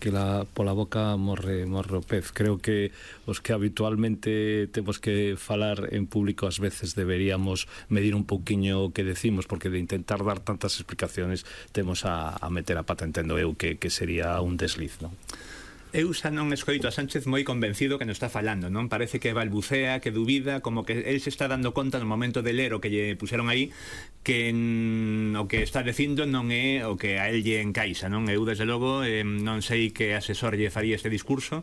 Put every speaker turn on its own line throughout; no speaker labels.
que pola boca morre o pez. Creo que os que habitualmente temos que falar en público ás veces deberíamos medir un pouquiño o que decimos, porque de intentar dar tantas explicaciones temos a meter a pata, entendo eu, que sería un desliz, non?
Eu xa non escoito a Sánchez moi convencido que non está falando, non? Parece que balbucea, que dubida, como que el se está dando conta no momento de ler o que lle puxeron aí que o que está dicindo non é o que a el lle encaixa, non? Eu, desde logo, non sei que asesor lle faría este discurso,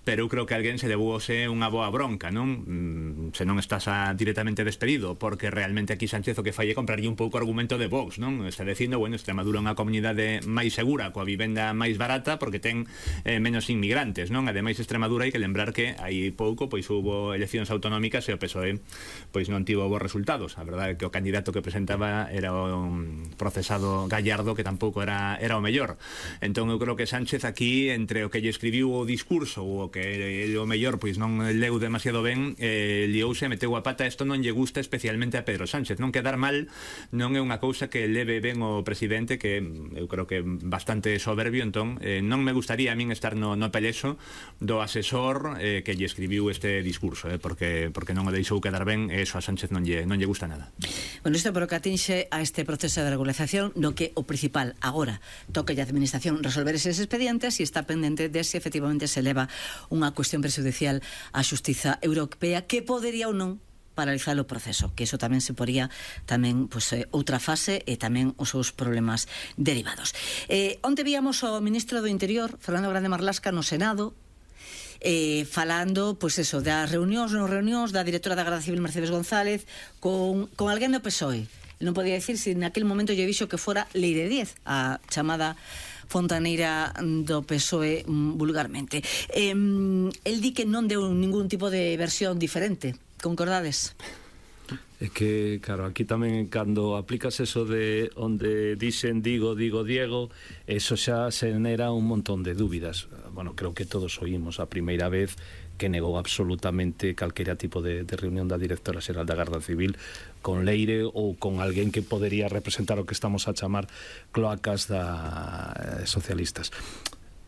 pero eu creo que alguén se levouse unha boa bronca, non? Se non estás directamente despedido, porque realmente aquí Sánchez o que fai é comprarlle un pouco o argumento de Vox, non? Está dicindo, bueno, Extremadura é unha comunidade máis segura, coa vivenda máis barata, porque ten menos inmigrantes, non? Ademais, Extremadura, hai que lembrar que hai pouco pois hubo eleccións autonómicas e o PSOE pois non tivo bons resultados. A verdade é que o candidato que presentaba era un procesado Gallardo, que tampouco era o mellor. Entón eu creo que Sánchez aquí, entre o que lle escribiu o discurso ou o que o mellor pois non leu demasiado ben, liouse e meteu a pata. Isto non lle gusta especialmente a Pedro Sánchez. Non quedar mal non é unha cousa que leve ben o presidente, que eu creo que é bastante soberbio. Entón non me gustaría a min estar no pelexo do asesor que lle escribiu este discurso, porque non o deixou quedar ben, e eso a Sánchez non lle gusta nada.
Bueno, isto por o que atinxe a este proceso de regulación, no que o principal agora toca a administración resolver eses expedientes e está pendente de se efectivamente se leva unha cuestión prejudicial á Xustiza Europea, que podería ou non paralizar o proceso, que iso tamén se poría tamén outra fase e tamén os seus problemas derivados. Onte víamos o ministro do Interior, Fernando Grande Marlaska, no Senado, falando, pois eso, das reunións da directora da Garda Civil, Mercedes González, con alguén do PSOE. Non podía decir se naquele momento lle dixo que fora Leire Díez, a chamada fontaneira do PSOE vulgarmente. El di que non deu ningún tipo de versión diferente. Concordades?
É que, claro, aquí tamén cando aplicas eso de onde dixen digo Diego, eso xa xenera un montón de dúbidas. Bueno, creo que todos oímos a primeira vez que negou absolutamente calquera tipo de reunión da directora xeral da Garda Civil con Leire ou con alguén que podería representar o que estamos a chamar cloacas socialistas.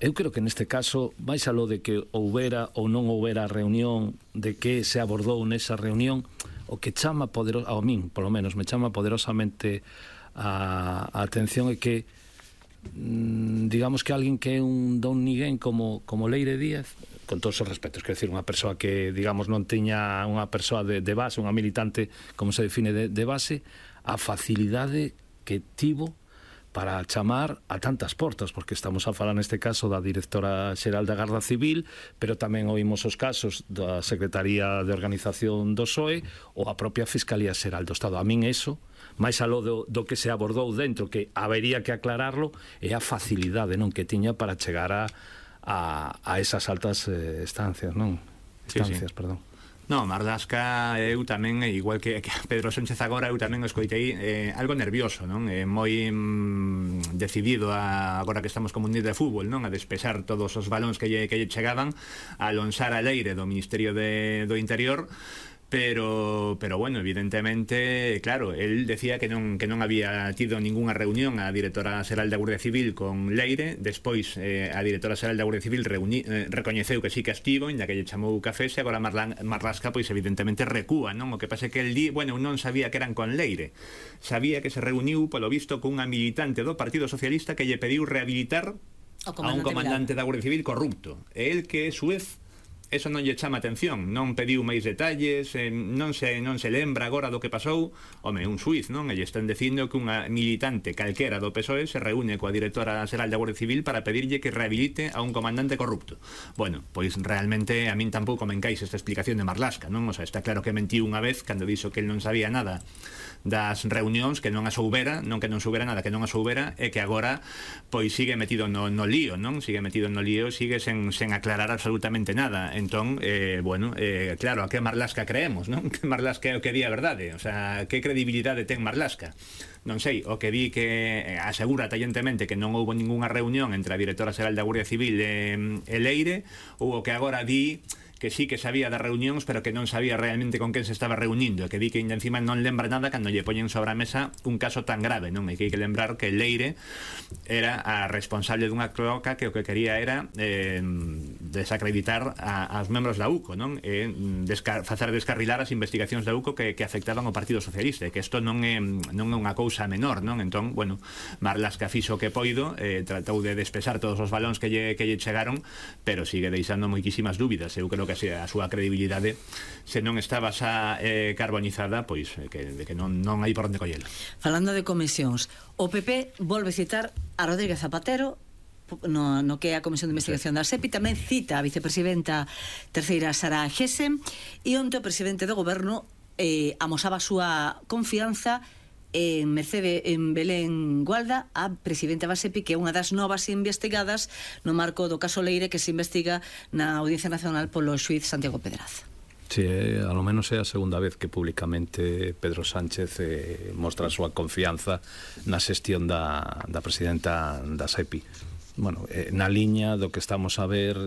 Eu creo que neste caso, máis aló de que houbera ou non houbera reunión, de que se abordou nesa reunión, o que chama a min, polo menos, me chama poderosamente a atención é que digamos que alguén que é un don ninguén como Leire Díaz, con todos os respetos, quero dicir, unha persoa que, digamos, non tiña unha persoa de base, unha militante, como se define, de base, a facilidade que tivo para chamar a tantas portas, porque estamos a falar neste caso da directora xeral da Garda Civil, pero tamén oímos os casos da Secretaría de Organización do PSOE ou a propia Fiscalía Xeral do Estado. A min eso, máis aló do que se abordou dentro, que habería que aclararlo, é a facilidade, non, que tiña para chegar a esas altas estancias, non? Estancias, sí. Perdón.
No, Marlaska, eu tamén, igual que Pedro Sánchez agora, eu tamén o escoitei algo nervioso, non? Moi decidido agora que estamos como un día de fútbol, non? A despexar todos os balóns que lle chegaban, a lanzar a Leire do Ministerio do Interior. Pero bueno, evidentemente, claro, él decía que non había tido ningunha reunión a directora xeral da Guardia Civil con Leire. Despois a directora xeral da Guardia Civil recoñeceu que sí que estivo, inda que lle chamou cafés, e agora Marlaska pois evidentemente recúa, non? O que pasa é que el di, bueno, non sabía que eran con Leire, sabía que se reuniu polo visto con unha militante do Partido Socialista que lle pediu rehabilitar a un comandante da Guardia Civil corrupto, e el que suez eso non lle chama atención, non pediu máis detalles, non se lembra agora do que pasou. Home, un xuiz, non? E lle están dicindo que unha militante calquera do PSOE se reúne coa directora xeral da Guardia Civil para pedirlle que rehabilite a un comandante corrupto. Bueno, pois realmente a min tampouco me encaixa esta explicación de Marlaska, non? O sea, está claro que mentiu unha vez cando dixo que el non sabía nada das reunións, que non a soubera, non que non soubera nada, que non a soubera, e que agora pois sigue metido no lío, non? Sigue metido no lío, sigue sen aclarar absolutamente nada. Entón, claro, a que Marlaska creemos, non? Que Marlaska é o que di a verdade, o sea, que credibilidade ten Marlaska? Non sei, o que di que asegura tallentemente que non houbo ningunha reunión entre a directora xeral da Guardia Civil e Leire, ou o que agora di que sí que sabía das reunións, pero que non sabía realmente con quen se estaba reunindo, e que di que ainda encima non lembra nada cando lle poñen sobre a mesa un caso tan grave, non? E que hai que lembrar que Leire era a responsable dunha cloaca que o que quería era desacreditar aos membros da UCO, non? E facer descarrilar as investigacións da UCO que afectaban ao Partido Socialista, e que isto non é unha cousa menor, non? Entón, bueno, Marlaska fixo o que poido, tratou de despesar todos os balóns que lle chegaron, pero sigue deixando moitísimas dúbidas. Eu creo que a súa credibilidade, se non estaba xa carbonizada, pois que non hai por onde collelo.
Falando de comisións, o PP volve citar a Rodríguez Zapatero no que é a Comisión de Investigación da SEPI, tamén cita a vicepresidenta terceira Sara Gese, e onte o presidente do goberno amosaba a súa confianza en Belén Gualda, a presidenta da SEPI, que é unha das novas investigadas no marco do caso Leire, que se investiga na Audiencia Nacional polo xuíz Santiago Pedraz.
Sí, a lo menos é a segunda vez que públicamente Pedro Sánchez mostra a súa confianza na xestión da presidenta da SEPI. Bueno, na liña do que estamos a ver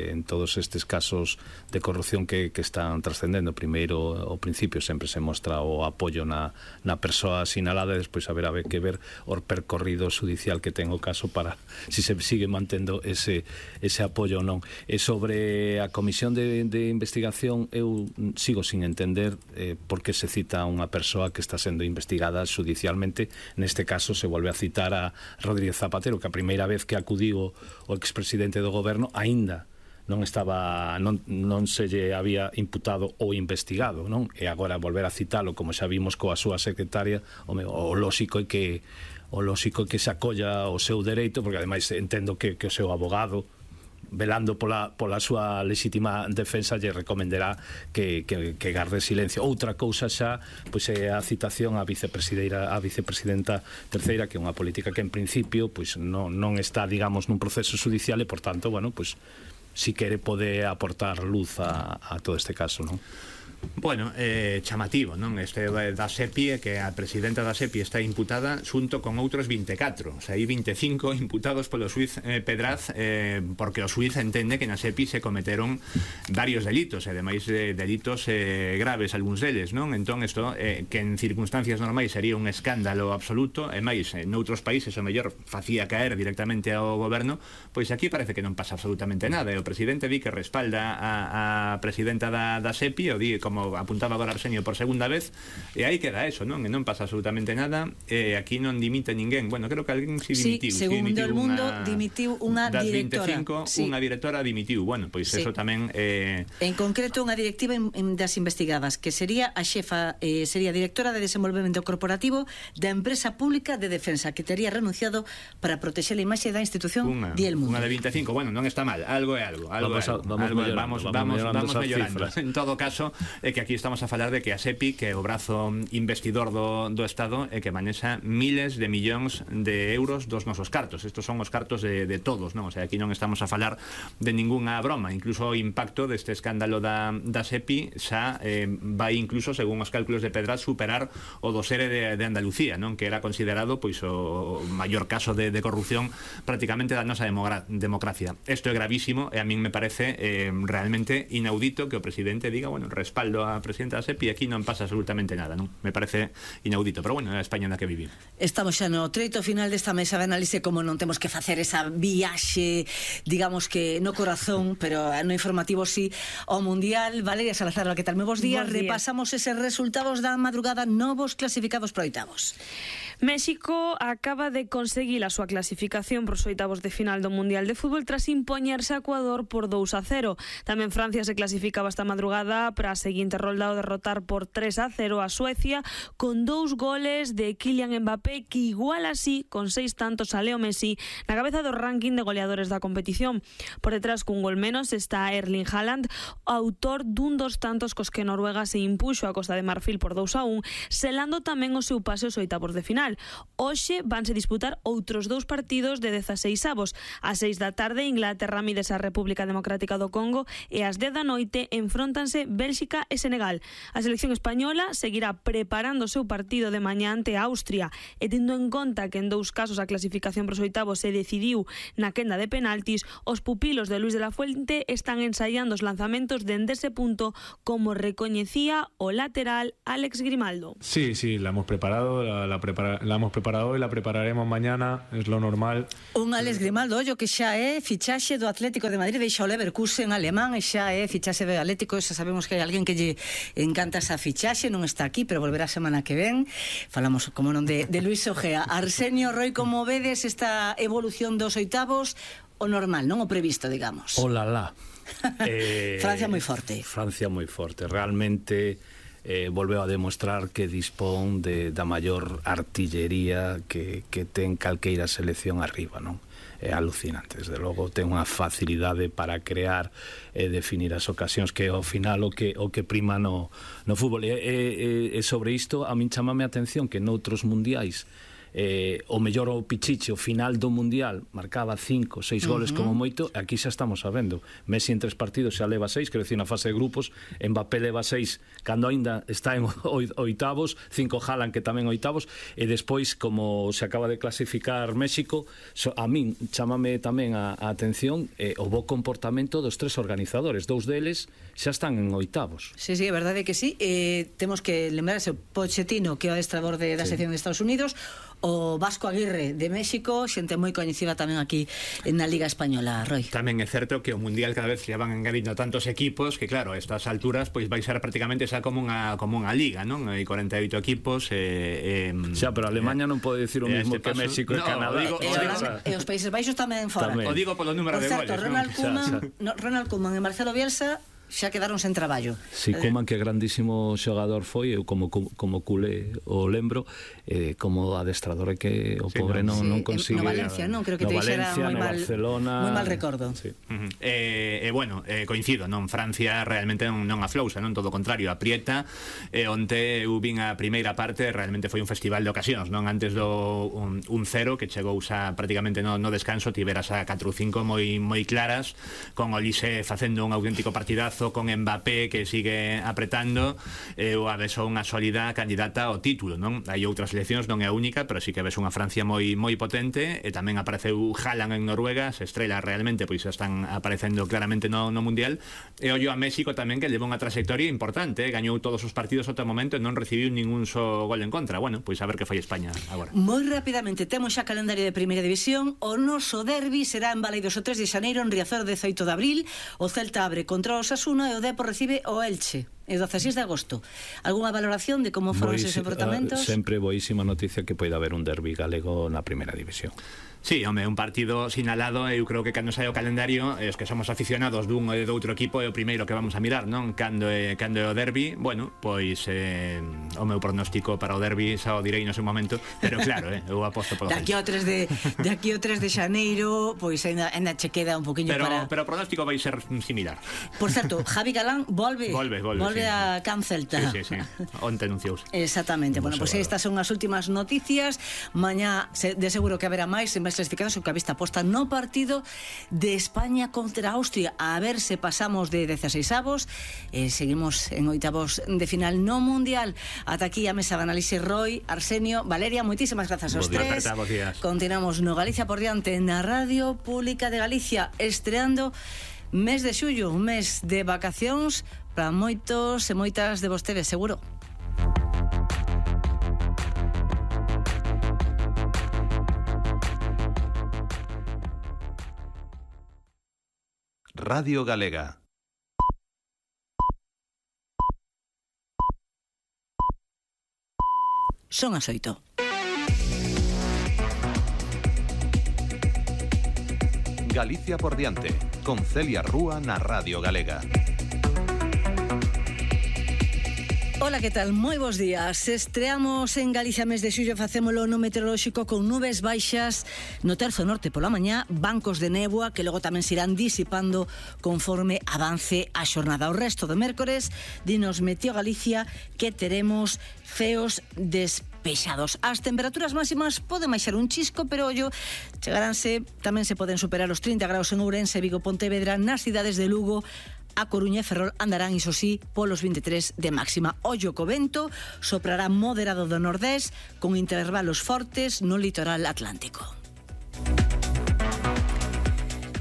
en todos estes casos de corrupción que están trascendendo. Primeiro, ao principio sempre se mostra o apoio na persoa sinalada, e despois haberá que ver o percorrido judicial que ten o caso para si se sigue mantendo ese apoio ou non. E sobre a comisión de investigación, eu sigo sin entender por que se cita a unha persoa que está sendo investigada judicialmente. Neste caso se volve a citar a Rodríguez Zapatero, que a primeira vez que acudiu o expresidente do goberno aínda non se lle había imputado ou investigado, non? E agora volver a citalo, como xa vimos coa súa secretaria, o lóxico é que se acolla o seu dereito, porque ademais entendo que o seu abogado, velando pola súa legítima defensa, lle recomendará que garde silencio. Outra cousa xa pois é a citación á vicepresidenta terceira, que é unha política que en principio pois non está, digamos, nun proceso judicial, e por tanto, bueno, pois si quere pode aportar luz a todo este caso, non?
Bueno, chamativo, non? Este da SEPI é que a presidenta da SEPI está imputada xunto con outros 24, o sea, hai 25 imputados polo xuíz Pedraz, porque o xuíz entende que na SEPI se cometeron varios delitos, e ademais delitos graves algúns deles, non? Entón, isto que en circunstancias normais sería un escándalo absoluto, e máis, noutros países o mellor facía caer directamente ao goberno, pois aquí parece que non pasa absolutamente nada, e o presidente di que respalda a presidenta da SEPI, o di, como apuntaba agora Arsenio por segunda vez, e aí queda eso, non? E non pasa absolutamente nada, e aquí non dimite ninguén. Bueno, creo que alguén si dimitiu.
Sí, segundo El Mundo, dimitiu unha directora.
Das 25, unha directora dimitiu. Bueno, pois eso tamén...
En concreto, unha directiva das investigadas, que sería a xefa, sería directora de desenvolvemento corporativo da empresa pública de defensa, que tería renunciado para protexer a imaxe da institución de El Mundo.
Unha de 25, bueno, non está mal, algo é algo. Vamos mellorando. En todo caso, é que aquí estamos a falar de que a SEPI, que é o brazo investidor do Estado, é que manexa miles de millóns de euros dos nosos cartos. Estos son os cartos de todos, non? O sea, aquí non estamos a falar de ningunha broma. Incluso o impacto deste escándalo da SEPI xa vai incluso, según os cálculos de Pedraz, superar o do SERE de Andalucía, non? Que era considerado pois o maior caso de corrupción prácticamente da nosa democracia. Isto é gravísimo, e a min me parece realmente inaudito que o presidente diga, bueno, respaldo a presidenta da SEPI, aquí non pasa absolutamente nada, non? Me parece inaudito, pero bueno, é a España na que vivimos.
Estamos xa no treito final desta mesa de análise, como non temos que facer esa viaxe, digamos que no corazón, pero no informativo sí, ao Mundial. Valeria Salazar, que tal? Bos días. Repasamos eses resultados da madrugada, novos clasificados para oitavos.
México acaba de conseguir a súa clasificación para os oitavos de final do Mundial de Fútbol tras impoñerse a Ecuador por 2-0. Tamén Francia se clasificaba esta madrugada para a seguinte rolda ao derrotar por 3-0 a Suecia, con 2 goles de Kylian Mbappé, que igual así con 6 tantos a Leo Messi na cabeza do ranking de goleadores da competición. Por detrás, cun gol menos, está Erling Haaland, autor dun dos tantos cos que Noruega se impuxo a Costa de Marfil por 2-1, selando tamén o seu pase aos oitavos de final. final. Hoxe vanse disputar outros 2 partidos de 16avos. Ás 6 da tarde, Inglaterra mídese a República Democrática do Congo e ás 10 da noite enfróntanse Bélxica e Senegal. A selección española seguirá preparando o seu partido de mañá ante Austria e tendo en conta que en 2 casos a clasificación para os oitavos se decidiu na quenda de penaltis, os pupilos de Luis de la Fuente están ensaiando os lanzamentos dende ese punto, como recoñecía o lateral Alex Grimaldo.
Sí, la hemos preparado, la hemos preparado y la prepararemos mañana, es lo normal.
Un Alex Grimaldo, ollo que xa é fichaxe do Atlético de Madrid, deixa o Leverkusen alemán e xa é fichaxe do Atlético. Xa sabemos que hai alguén que lle encanta esa fichaxe, non está aquí, pero volverá a semana que ven. Falamos, como non, de Luis Ojea. Arsenio, Roy, como vedes esta evolución dos oitavos? O normal, non o previsto, digamos.
Olala.
Francia moi forte.
Francia moi forte. Realmente volveu a demostrar que dispón da maior artillería que ten calqueira selección arriba, non? É alucinante, desde logo ten unha facilidade para crear e definir as ocasións, que ao final o que prima no fútbol. E sobre isto a min chamame a atención que noutros mundiais o mellor o Pichichi, o final do mundial marcaba 5, 6 goles como moito. Aquí xa estamos sabendo, Messi en 3 partidos xa leva 6, quero dicir, na fase de grupos. Mbappé leva 6 cando aínda está en oitavos, 5 Haaland que tamén oitavos, e despois, como se acaba de clasificar México, a min chámame tamén a atención o bo comportamento dos 3 organizadores. 2 deles xa están en oitavos.
Sí, é verdade que sí. Temos que lembrarse o Pochettino, que é o adestrador da selección de Estados Unidos, o Vasco Aguirre de México, xente moi coñecida tamén aquí na Liga Española, Roy.
Tamén é certo que o Mundial cada vez se van engadindo tantos equipos que, claro, a estas alturas pois vai ser prácticamente xa como unha liga, non? Hai 48 equipos
xa, pero Alemania non pode decir o mismo que México e Canadá.
E os Países Baixos tamén fora.
O digo polo número de goles.
Ronald Koeman e Marcelo Bielsa xa quedaron sen traballo.
Si, Koeman, que grandísimo xogador foi, eu como culé o lembro, como adestrador, que o pobre non consigue.
No Valencia, non? Creo que te dixera moi mal recordo.
Bueno, coincido, non? Francia realmente non aflousa, non? Todo o contrario, aprieta. Onte eu vin a primeira parte, realmente foi un festival de ocasións, non? Antes do 1-0, que chegou xa prácticamente no descanso, tiveras a 4 ou 5 moi claras, con Olise facendo un auténtico partidazo, con Mbappé que sigue apretando, ou a vez unha sólida candidata ao título, non? Hai outras seleccións, non é a única, pero sí que ves unha Francia moi potente, e tamén apareceu Haaland en Noruega, se estrela realmente, pois xa están aparecendo claramente no Mundial. E ollo a México tamén, que leva unha trayectoria importante, gañou todos os partidos ata o momento e non recibiu ningún só gol en contra. Bueno, pois a ver que fai España agora.
Moi rapidamente, temos xa calendario de Primeira División. O noso derbi será en Baleidos o 3 de xaneiro, en Riazor 18 de abril. O Celta abre contra o Osasuna e o Depor recibe o Elche e o 16 de agosto. Algúna valoración de como foron esos enfrontamentos?
Sempre boísima noticia que poida haber un derbi galego na Primeira División.
Sí, home, un partido sinalado. Eu creo que cando sai o calendario, os que somos aficionados dun e do outro equipo, é o primeiro que vamos a mirar, non? Cando é o derbi, bueno, pois o meu pronóstico para o derbi xa o direi no seu momento, pero claro, eu aposto polo
Daqui ao 3 de xaneiro, pois ainda che queda un poquinho para...
Pero o pronóstico vai ser similar.
Por certo, Javi Galán volve
sí.
A Can Celta.
Sí. Onte anunciouse.
Exactamente. Bueno, pois estas son as últimas noticias. Mañá de seguro que haberá máis clasificados, o que a vista posta no partido de España contra Austria, a ver se pasamos de 16avos e seguimos en oitavos de final no Mundial. Ata aquí a mesa de análise. Roy, Arsenio, Valeria, moitísimas grazas aos tres. Continuamos no Galicia por diante na Radio Pública de Galicia, estreando mes de xullo, un mes de vacacións para moitos e moitas de vostedes, seguro.
Radio Galega.
Son as 8.
Galicia por diante, con Celia Rúa na Radio Galega.
Ola, que tal? Moi bons días. Estreamos en Galicia mes de xullo, facémolo no meteorolóxico con nubes baixas no terzo norte pola mañá, bancos de néboa que logo tamén se irán disipando conforme avance a xornada. O resto do mércores dinos Meteo Galicia que teremos ceos despexados. As temperaturas máximas poden baixar un chisco, pero ollo, chegaránse, tamén se poden superar os 30 graus en Ourense, Vigo, Pontevedra, nas cidades de Lugo, A Coruña e Ferrol andarán, iso sí, polos 23 de máxima. Ollo co vento, soprará moderado do nordés, con intervalos fortes no litoral atlántico.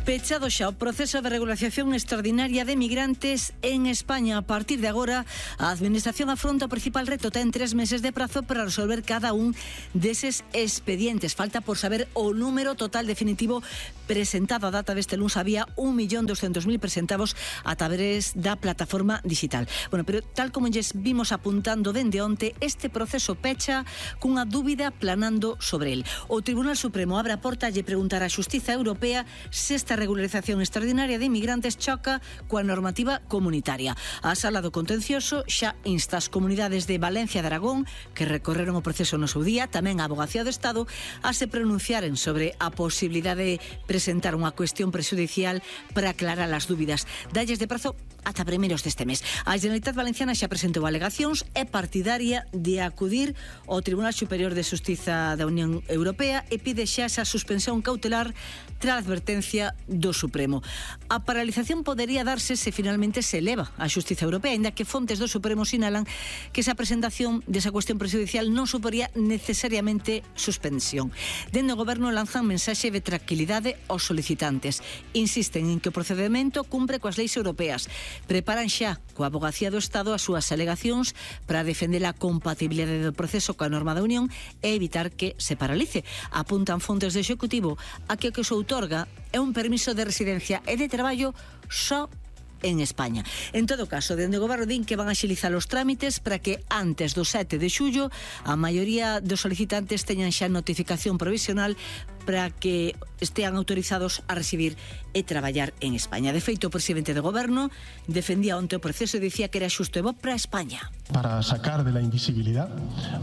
Pechado xa o proceso de regulación extraordinaria de migrantes en España. A partir de agora, a Administración afronta o principal reto. Ten 3 meses de prazo para resolver cada un deses expedientes. Falta por saber o número total definitivo presentado. A data deste luns había 1.200.000 presentados a través da plataforma digital. Bueno, pero tal como lles vimos apuntando dende onte, este proceso pecha cunha dúbida planando sobre el. O Tribunal Supremo abre a porta e preguntar á Xustiza Europea se esta regularización extraordinaria de inmigrantes choca coa normativa comunitaria. A Sala do Contencioso xa insta as comunidades de Valencia e de Aragón, que recorreron o proceso no seu día, tamén a Abogacía do Estado, a se pronunciaren sobre a posibilidade de presentar unha cuestión prexudicial para aclarar as dúbidas. Dalles de prazo ata primeiros deste mes. A Generalitat Valenciana xa presentou alegacións, é partidaria de acudir ao Tribunal Superior de Xustiza da Unión Europea e pide xa esa suspensión cautelar tras a advertencia do Supremo. A paralización podería darse se finalmente se eleva a Xustiza Europea, ainda que fontes do Supremo sinalan que esa presentación desa cuestión prexudicial non suporía necesariamente suspensión. Dende o Goberno lanzan mensaxe de tranquilidade aos solicitantes. Insisten en que o procedimento cumpre coas leis europeas. Preparan xa coa Abogacía do Estado as súas alegacións para defender a compatibilidade do proceso coa norma da Unión e evitar que se paralice. Apuntan fontes do Executivo a que o que se outorga é un permiso de residencia e de traballo só en España. En todo caso, dende o Goberno din que van a axilizar os trámites para que antes do 7 de xullo a maioría dos solicitantes teñan xa notificación provisional para que estean autorizados a residir e traballar en España. De feito, o presidente do Goberno defendía onte o proceso e dicía que era xusto e bo para España.
Para sacar de la invisibilidad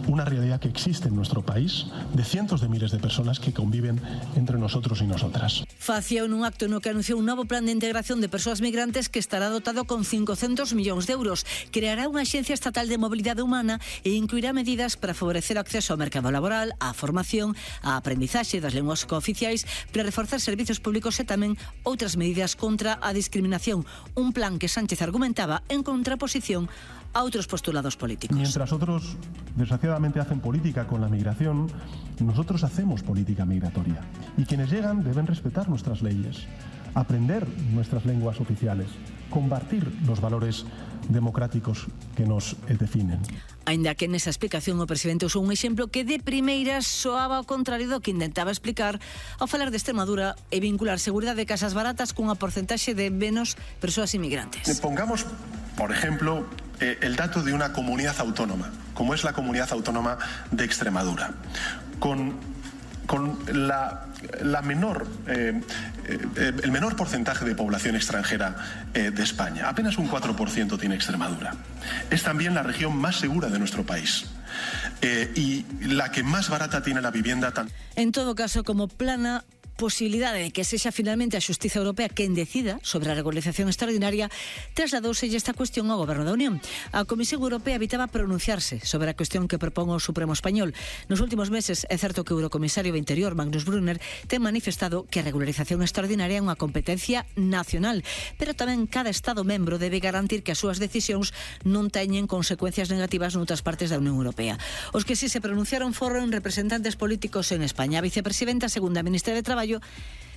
una realidad que existe en nuestro país de cientos de miles de personas que conviven entre nosotros y nosotras.
Facía un acto no que anunciou un novo plan de integración de persoas migrantes que estará dotado con 500 millóns de euros. Creará unha axencia estatal de mobilidade humana e incluirá medidas para favorecer o acceso ao mercado laboral, á formación, á aprendizaxe das linguas cooficiais, para reforzar servizos públicos e tamén outras medidas contra a discriminación. Un plan que Sánchez argumentaba en contraposición a otros postulados políticos.
Mientras otros, desgraciadamente, hacen política con la migración, nosotros hacemos política migratoria. Y quienes llegan deben respetar nuestras leyes, aprender nuestras lenguas oficiales, compartir los valores democráticos que nos definen.
Ainda que nesa explicación o presidente usou un exemplo que de primeiras soaba ao contrario do que intentaba explicar ao falar de Extremadura e vincular seguridade de casas baratas cunha porcentaxe de menos persoas inmigrantes.
Pongamos, por ejemplo, el dato de una comunidad autónoma, como es la comunidad autónoma de Extremadura, con el menor porcentaje de población extranjera de España. Apenas un 4% tiene Extremadura. Es también la región más segura de nuestro país y la que más barata tiene la vivienda.
En todo caso, como plana posibilidade de que sexa finalmente a Xustiza Europea quen decida sobre a regularización extraordinaria, trasladouse esta cuestión ao Goberno da Unión. A Comisión Europea evitaba pronunciarse sobre a cuestión que propón o Supremo Español. Nos últimos meses é certo que o Eurocomisario de Interior, Magnus Brunner, ten manifestado que a regularización extraordinaria é unha competencia nacional, pero tamén cada Estado membro debe garantir que as súas decisións non teñen consecuencias negativas noutras partes da Unión Europea. Os que sí se pronunciaron foron representantes políticos en España. A vicepresidenta, segunda ministra de Traballo,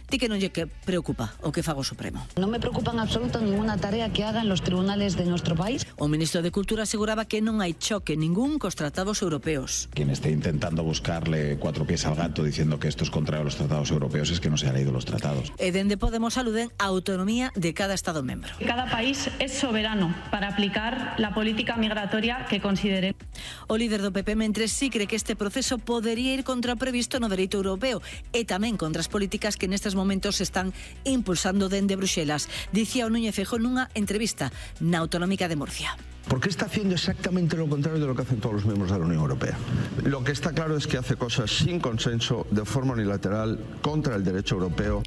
di que non lle que preocupa o que faga o Supremo.
Non me preocupa en absoluto ninguna tarea que hagan los tribunales de nuestro país.
O ministro de Cultura aseguraba que non hai choque ningún cos tratados europeos.
Quien esté intentando buscarle cuatro pies al gato diciendo que esto es contrario a los tratados europeos es que no se ha leído los tratados.
E dende Podemos aluden a autonomía de cada Estado membro.
Cada país es soberano para aplicar la política migratoria que considere.
O líder do PP mentres sí cree que este proceso podería ir contra o previsto no dereito europeo e tamén contra as políticas que nestes momentos se están impulsando dende Bruxelas. Dicía o Núñez Feijóo nunha entrevista na Autonómica de Murcia.
Porque está haciendo exactamente lo contrario de lo que hacen todos los miembros de la Unión Europea. Lo que está claro es que hace cosas sin consenso, de forma unilateral, contra el derecho europeo.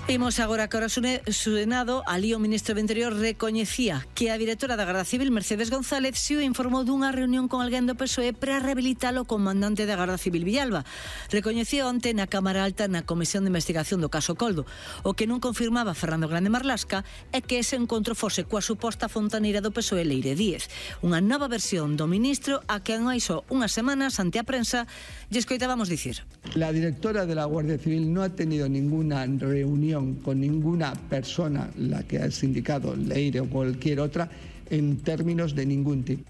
Imos agora que o Senado, ali o ministro do Interior recoñecía que a directora da Garda Civil, Mercedes González, se o informou dunha reunión con alguén do PSOE para rehabilitar o comandante da Garda Civil Villalba. Recoñecía onte na Cámara Alta na Comisión de Investigación do caso Coldo. O que non confirmaba Fernando Grande Marlasca é que ese encontro fose coa suposta fontaneira do PSOE Leire Díez. Unha nova versión do ministro a que hai só unhas semanas ante a prensa lle escoitábamos dicir:
La directora de la Guardia Civil no ha tenido ninguna reunión con ninguna persona, la que has indicado, Leire o cualquier otra, en términos de ningún tipo.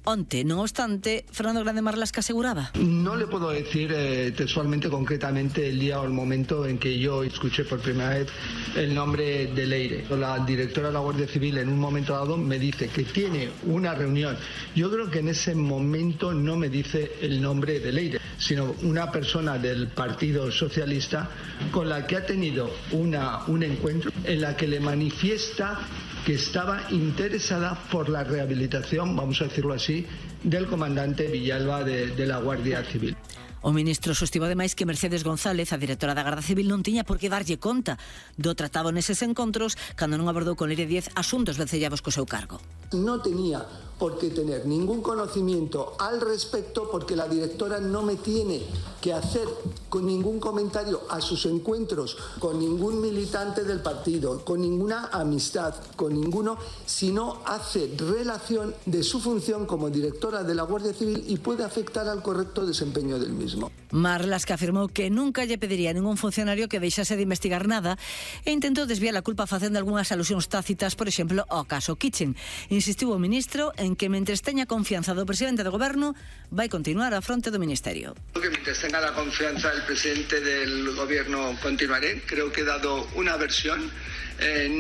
Onte, no obstante, Fernando Grande Marlasca aseguraba:
No le puedo decir textualmente, concretamente, el día o el momento en que yo escuché por primera vez el nombre de Leire. La directora de la Guardia Civil en un momento dado me dice que tiene una reunión. Yo creo que en ese momento no me dice el nombre de Leire, sino una persona del Partido Socialista con la que ha tenido un encuentro en la que le manifiesta que estaba interesada por la rehabilitación, vamos a decirlo así, del comandante Villalba de la Guardia Civil.
O ministro sostivo ademais que Mercedes González, a directora da Garda Civil, non tiña por que darlle conta do tratado neses encontros cando non abordou con Leire Díez asuntos vencellados co seu cargo.
No tenía por qué tener ningún conocimiento al respecto porque la directora no me tiene que hacer con ningún comentario a sus encuentros con ningún militante del partido, con ninguna amistad, con ninguno, sino hace relación de su función como directora de la Guardia Civil y puede afectar al correcto desempeño del mismo.
Marlasca afirmou que nunca lle pediría a ningún funcionario que deixase de investigar nada e intentou desviar a culpa facendo algunhas alusións tácitas, por exemplo, ao caso Kitchen. Insistiu o ministro en que mentres teña confianza do presidente do goberno vai continuar á fronte do ministerio.
Que mientras tenga la confianza del presidente del gobierno continuaré. Creo que he dado una versión,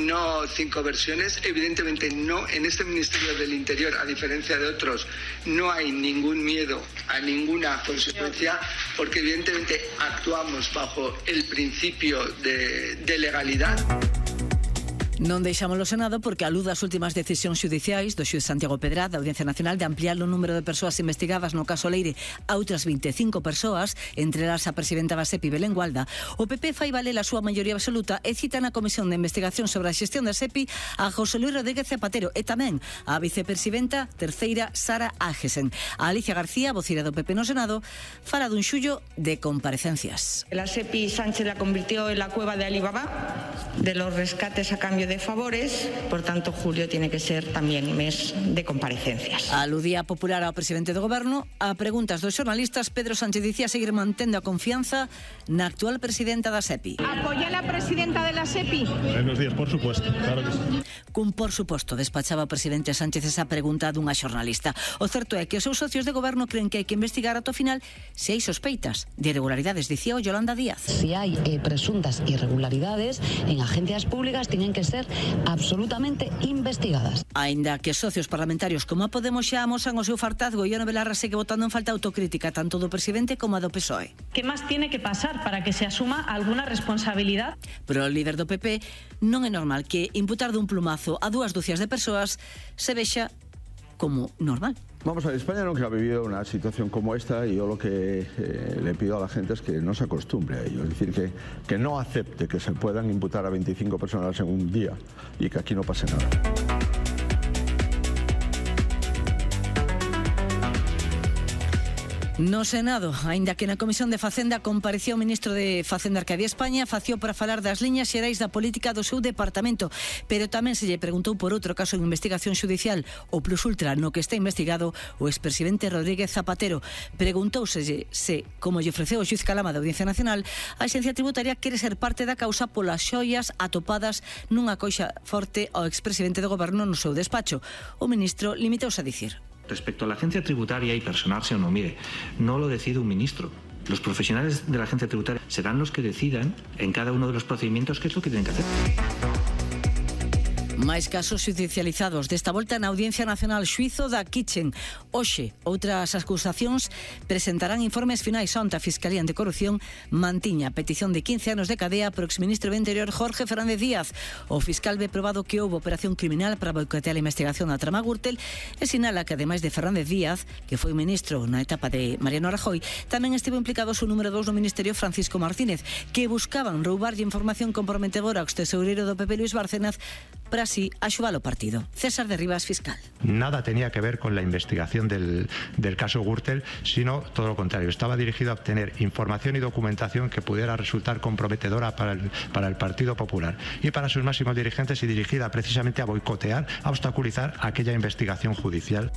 no 5 versiones. Evidentemente no, en este Ministerio del Interior, a diferencia de otros, no hay ningún miedo a ninguna consecuencia, porque evidentemente actuamos bajo el principio de legalidad.
Non deixamos o Senado porque aluda as últimas decisións xudiciais do xuiz Santiago Pedraz da Audiencia Nacional de ampliar o número de persoas investigadas no caso Leire a outras 25 persoas, entre elas a presidenta da SEPI, Belén Gualda. O PP fai valer a súa maioría absoluta e cita na Comisión de Investigación sobre a xestión da SEPI a José Luis Rodríguez Zapatero e tamén a vicepresidenta terceira Sara Ágesen. A Alicia García, vocera do PP no Senado, fala dun xullo de comparecencias.
La SEPI Sánchez la convirtió en la cueva de Alibaba, de los rescates a cambio de favores, por tanto julio tiene que ser tamén mes de comparecencias.
Aludía popular ao presidente do goberno. A preguntas dos xornalistas, Pedro Sánchez dicía seguir mantendo a confianza na actual presidenta da SEPI.
¿Apoya a la presidenta de la SEPI?
Buenos días, por supuesto, claro que sí.
Cun por suposto despachaba o presidente Sánchez esa pregunta dunha xornalista. O certo é que os seus socios de goberno creen que hai que investigar ata o final se hai sospeitas de irregularidades, dicía o Yolanda Díaz.
Si hay presuntas irregularidades en agencias públicas, tienen que ser absolutamente investigadas.
Aínda que socios parlamentarios como a Podemos xa amosan o seu fartazgo, Ione Belarra segue botando en falta autocrítica tanto do presidente como a do PSOE.
¿Qué más tiene que pasar para que se asuma alguna responsabilidad?
Pero o líder do PP non é normal que imputar dun plumazo a 2 dúcias de persoas se vexa como normal.
Vamos a ver, España nunca ha vivido una situación como esta y yo lo que le pido a la gente es que no se acostumbre a ello, es decir, que no acepte que se puedan imputar a 25 personas en un día y que aquí no pase nada.
No Senado, aínda que na Comisión de Facenda comparecía o ministro de Facenda Arcadia España, fació para falar das liñas xerais da política do seu departamento, pero tamén se lle preguntou por outro caso en investigación xudicial, o Plus Ultra, no que está investigado o expresidente Rodríguez Zapatero. Preguntouselle se, como lle ofreceu o xuiz Calama da Audiencia Nacional, a Axencia Tributaria quere ser parte da causa polas xoias atopadas nunha coixa forte ao expresidente do goberno no seu despacho. O ministro limitouse a dicir:
respecto a la agencia tributaria y personarse o no, mire, no lo decide un ministro. Los profesionales de la agencia tributaria serán los que decidan en cada uno de los procedimientos qué es lo que tienen que hacer.
Máis casos judicializados, desta volta na Audiencia Nacional, xuízo da Kitchen. Hoxe, outras acusacións presentarán informes finais. Onte a Fiscalía Anticorrupción mantiña a petición de 15 anos de cadea pro exministro do Interior Jorge Fernández Díaz. O fiscal ve probado que houve operación criminal para boicotear a investigación da trama Gürtel e sinala que, ademais de Fernández Díaz, que foi ministro na etapa de Mariano Rajoy, tamén estivo implicado o número 2 no Ministerio, Francisco Martínez, que buscaban roubarlle información comprometedora ao extesoureiro do PP, Luis Bárcenas, para así axudar o partido. César de Rivas, fiscal.
Nada tenía que ver con la investigación del caso Gürtel, sino todo lo contrario. Estaba dirigido a obtener información y documentación que pudiera resultar comprometedora para el Partido Popular y para sus máximos dirigentes, y dirigida precisamente a boicotear, a obstaculizar aquella investigación judicial.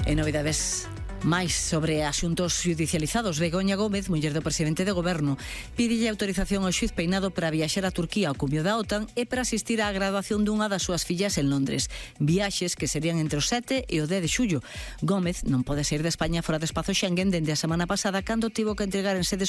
En novidades máis sobre asuntos judicializados, Begoña Gómez, muller do presidente de goberno, pídelle autorización ao xuiz Peinado para viaxar a Turquía ao cumio da OTAN e para asistir á graduación dunha das súas fillas en Londres. Viaxes que serían entre o 7 e o 10 de xullo. Gómez non pode sair de España fora do espazo Schengen dende a semana pasada, cando tivo que entregar en sede